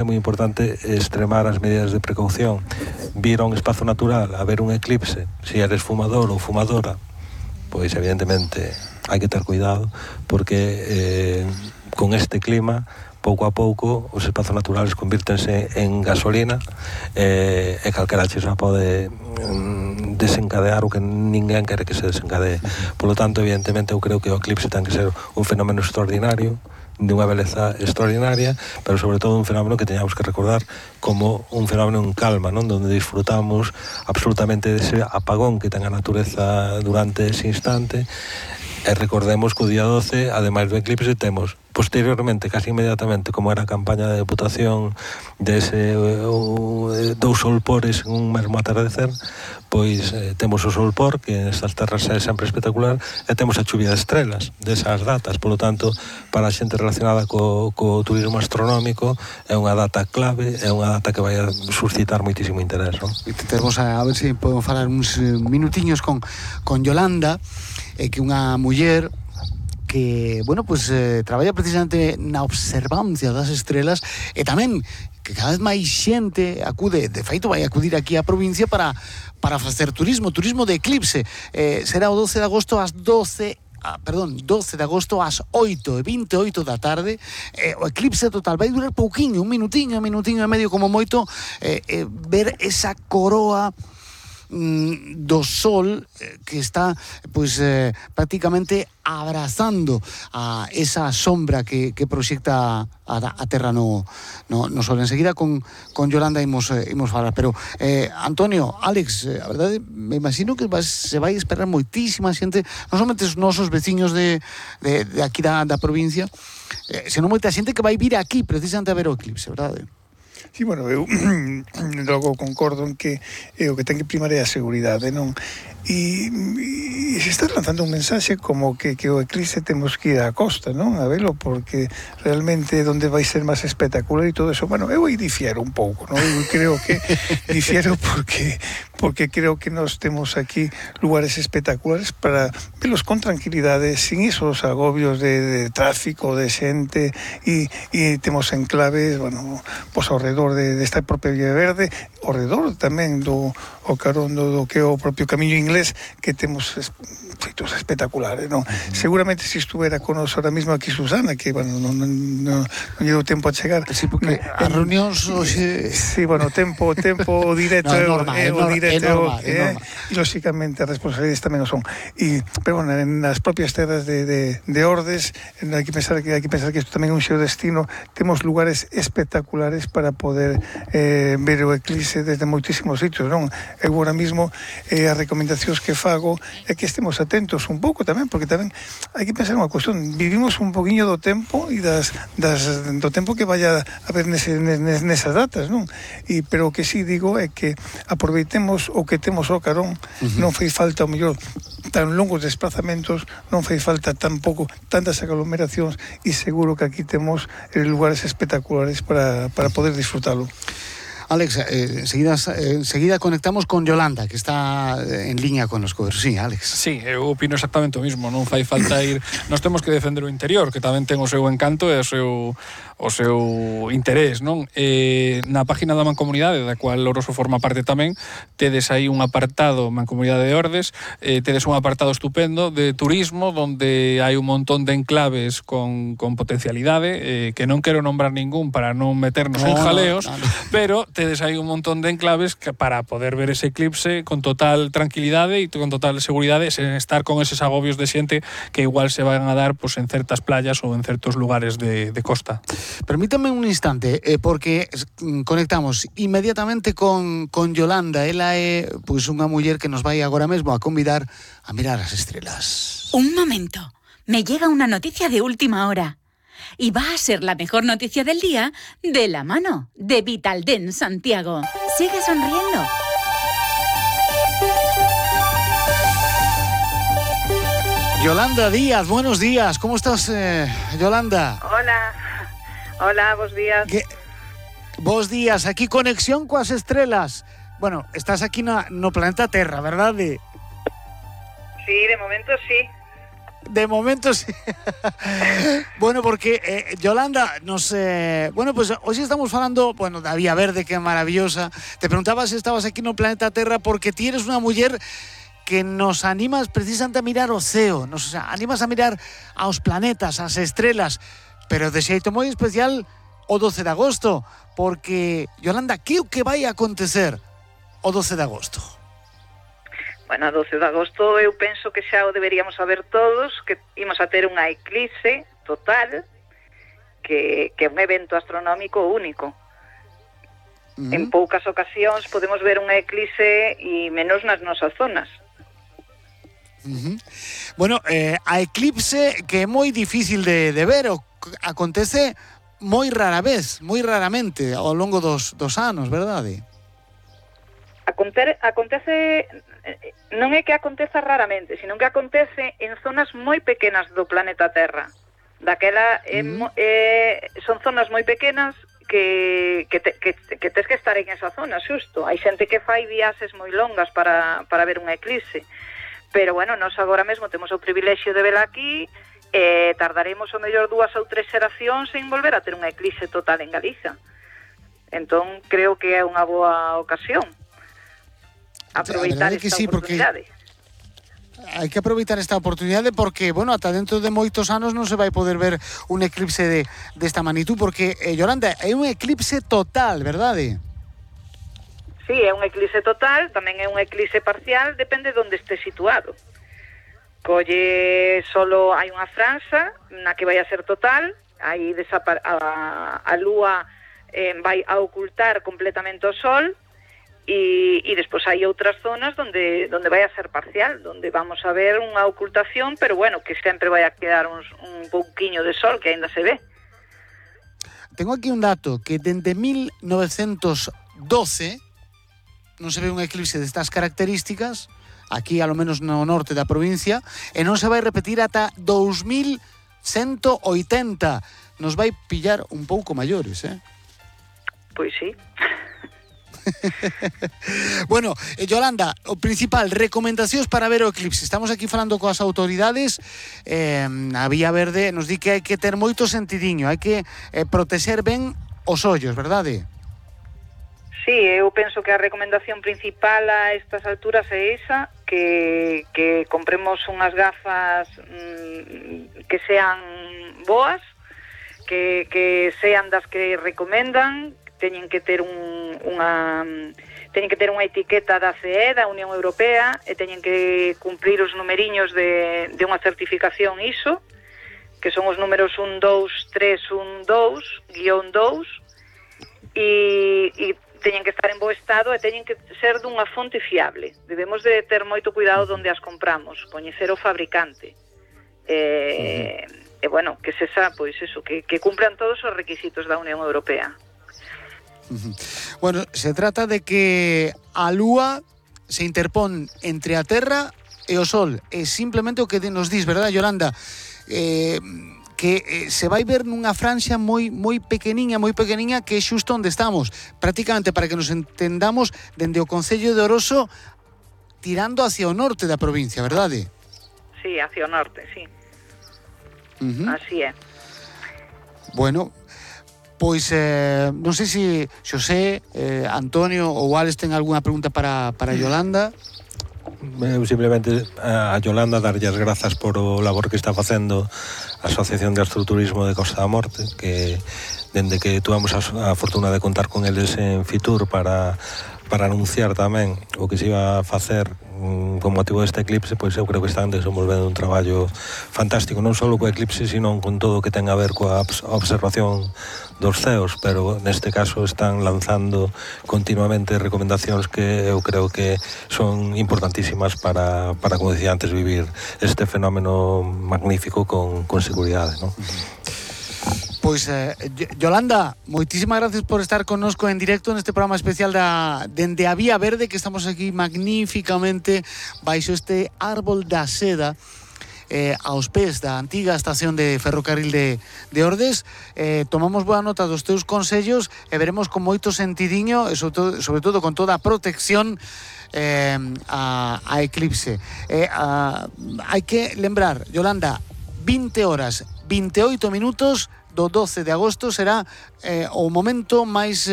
é moi importante extremar as medidas de precaución. Vir a un espazo natural a ver un eclipse, se eres fumador ou fumadora, pois evidentemente hai que ter cuidado, porque con este clima pouco a pouco os espazos naturales convírtense en gasolina e calquera xa pode desencadear o que ninguén quere que se desencadee. Polo tanto, evidentemente, eu creo que o eclipse ten que ser un fenómeno extraordinario, de unha beleza extraordinaria, pero sobre todo un fenómeno que teñamos que recordar como un fenómeno en calma, non? Donde disfrutamos absolutamente dese apagón que ten a natureza durante ese instante. E recordemos que o día 12, ademais do eclipse, temos posteriormente, casi inmediatamente, como era a campaña de deputación dese dous solpores en un mesmo atardecer, pois temos o solpor, que nestas terras é sempre espectacular, e temos a chuvia de estrelas desas datas. Polo tanto, para a xente relacionada co turismo astronómico, é unha data clave, é unha data que vai a suscitar moitísimo interés, non? Temos a ver se podemos falar uns minutiños con Yolanda, que é unha muller que, bueno, pues traballa precisamente na observancia das estrelas e tamén que cada vez máis xente acude, de feito vai acudir aquí á provincia para facer turismo de eclipse. Será o 12 de agosto ás 12 de agosto ás 8:28 da tarde. O eclipse total vai durar pouquiño, un minutiño e medio como moito, ver esa coroa do sol que está pois prácticamente abrazando a esa sombra que proxecta a terra no sol. Enseguida con Yolanda imos falar, pero Antonio, Alex, a verdade me imagino que se vai esperar moitísima xente, non somente os nosos veciños de aquí da provincia, senón moita xente que vai vir aquí precisamente a ver o eclipse, verdade? Sí, bueno, eu logo concordo en que o que ten que primar é a seguridade, non? E se está lanzando un mensaxe como que o eclipse temos que ir á costa, non? A velo, porque realmente onde vai ser máis espectacular e todo eso. Bueno, eu aí difiero un pouco, non? Eu creo que difiero porque creo que nós temos aquí lugares espectaculares para velos con tranquilidade, sin esos agobios de tráfico, de xente, e temos enclaves, bueno, pois ao redor desta propia Vía Verde, ao redor tamén do carón do que é o propio camiño inglés, que temos feitos espectaculares, non? Seguramente se estuvera con nos ahora mismo aquí Susana, que, bueno, non llevo tempo a chegar. Sí, porque as reunións hoxe... Sí, bueno, tempo directo é o directo, e lóxicamente as responsabilidades tamén o son. Pero, bueno, nas propias terras de Ordes, hai que pensar que isto tamén é un xeodestino, temos lugares espectaculares para poder ver o eclipse desde moitísimos sitios, non? Eu agora mismo as recomendacións que fago é que estemos atentos un pouco tamén, porque tamén hai que pensar unha cuestión, vivimos un poquinho do tempo e do tempo que vaya a haber nesas datas, non? Pero o que sí digo é que aproveitemos o que temos ao carón, non fai falta o mellor tan longos desplazamentos, non fai falta tampouco tantas aglomeracións, e seguro que aquí temos lugares espectaculares para poder disfrutalo. Alex, enseguida conectamos con Yolanda, que está en línea con los cobros. Sí, Alex. Sí, eu opino exactamente o mismo, non fai falta ir... Nós temos que defender o interior, que tamén ten o seu encanto e o seu interés, non? Na página da Mancomunidade, da cual Louroso forma parte tamén, tedes aí un apartado, Mancomunidade de Ordes, tedes un apartado estupendo de turismo, donde hai un montón de enclaves con potencialidade, que non quero nombrar ningún para non meternos en jaleos, pero tedes aí un montón de enclaves para poder ver ese eclipse con total tranquilidade e con total seguridade, sen estar con eses agobios de xente que igual se van a dar pues, en certas playas ou en certos lugares de costa. Permítame un instante, porque conectamos inmediatamente con Yolanda. Ela é pues, unha muller que nos vai agora mesmo a convidar a mirar as estrelas. Un momento, me llega una noticia de última hora. Y va a ser la mejor noticia del día de la mano de Vitaldent Santiago. Sigue sonriendo. Yolanda Díaz, buenos días. ¿Cómo estás, Yolanda? Hola, bos días. Bos días, aquí conexión coas estrelas. Bueno, estás aquí no planeta Terra, verdade? Sí, de momento sí. De momento sí. Bueno, porque Yolanda nos... bueno, pues hoxe estamos falando, bueno, da Vía Verde, que é maravillosa. Te preguntaba se estabas aquí no planeta Terra porque ti eres unha muller que nos animas precisamente a mirar o ceo, nos animas a mirar aos planetas, ás estrelas, pero de xeito moi especial o 12 de agosto, porque, Yolanda, que o que vai acontecer o 12 de agosto? Bueno, a 12 de agosto eu penso que xa o deberíamos saber todos, que imos a ter unha eclipse total, que é un evento astronómico único. En poucas ocasións podemos ver unha eclipse e menos nas nosas zonas. Bueno, a eclipse que é moi difícil de ver, acontece moi rara vez, moi raramente ao longo dos anos, verdade? Acontece, non é que aconteza raramente, sino que acontece en zonas moi pequenas do planeta Terra. Daquela son zonas moi pequenas que tes que estar en esa zona, xusto. Hai xente que fai viaxes moi longas para ver unha eclipse. Pero, bueno, nós agora mesmo temos o privilexio de vela aquí, tardaremos o mellor 2 ou 3 xeracións en volver a ter unha eclipse total en Galiza. Entón, creo que é unha boa ocasión aproveitar esta oportunidade. Hai que aproveitar esta oportunidade porque, bueno, ata dentro de moitos anos non se vai poder ver un eclipse desta magnitud, porque, Yolanda, é un eclipse total, verdade? Sí, é un eclipse total, tamén é un eclipse parcial, depende de onde este situado. Colle solo hai unha franxa na que vai a ser total, aí a lúa vai a ocultar completamente o sol e despois hai outras zonas donde vai a ser parcial, donde vamos a ver unha ocultación, pero bueno, que sempre vai a quedar un pouquiño de sol que aínda se ve. Tengo aquí un dato que dende 1912 non se ve un eclipse destas características aquí, alo menos no norte da provincia, e non se vai repetir ata 2180. Nos vai pillar un pouco maiores, Pois sí. Bueno, Yolanda, o principal, recomendacións para ver o eclipse. Estamos aquí falando coas autoridades, a Vía Verde nos di que hai que ter moito sentidiño, hai que protexer ben os ollos, verdade? Sí, eu penso que a recomendación principal a estas alturas é esa, que compremos unhas gafas que sean boas, que sean das que recomendan, teñen que ter unha etiqueta da CE, da Unión Europea, e teñen que cumprir os numeriños de unha certificación ISO, que son os números 12312-2, e teñen que estar en bo estado e teñen que ser dunha fonte fiable. Debemos de ter moito cuidado onde as compramos, coñecer o fabricante. E bueno, que sexa, pois eso, que cumplan todos os requisitos da Unión Europea. Bueno, se trata de que a Lúa se interpón entre a Terra e o Sol. É simplemente o que nos dis, verdad, Yolanda? Que se vai ver nunha franxa moi pequeniña, que é xusto onde estamos. Prácticamente, para que nos entendamos, dende o Concello de Oroso tirando hacia o norte da provincia, verdade? Sí, hacia o norte, sí. Así é. Bueno, pois non sei se Xosé, Antonio ou Alex ten algunha pregunta para Yolanda. Eu simplemente a Yolanda darlle as grazas por o labor que está facendo a Asociación de Astroturismo de Costa da Morte, que dende que tuvamos a fortuna de contar con eles en Fitur para anunciar tamén o que se iba a facer con motivo deste eclipse, pois eu creo que están desenvolvendo un traballo fantástico, non só co eclipse, sino con todo o que ten a ver coa observación dos ceos, pero neste caso están lanzando continuamente recomendacións que eu creo que son importantísimas para como decía antes, vivir este fenómeno magnífico con seguridade, non? Pois, Yolanda, moitísimas gracias por estar connosco en directo neste programa especial dende a Vía Verde, que estamos aquí magníficamente baixo este árbol da seda, aos pés da antiga estación de ferrocarril de Ordes. Tomamos boa nota dos teus consellos e veremos con moito sentidiño e sobre todo con toda a protección a eclipse. Hai que lembrar, Yolanda, 20 horas, 28 minutos do 12 de agosto será o momento máis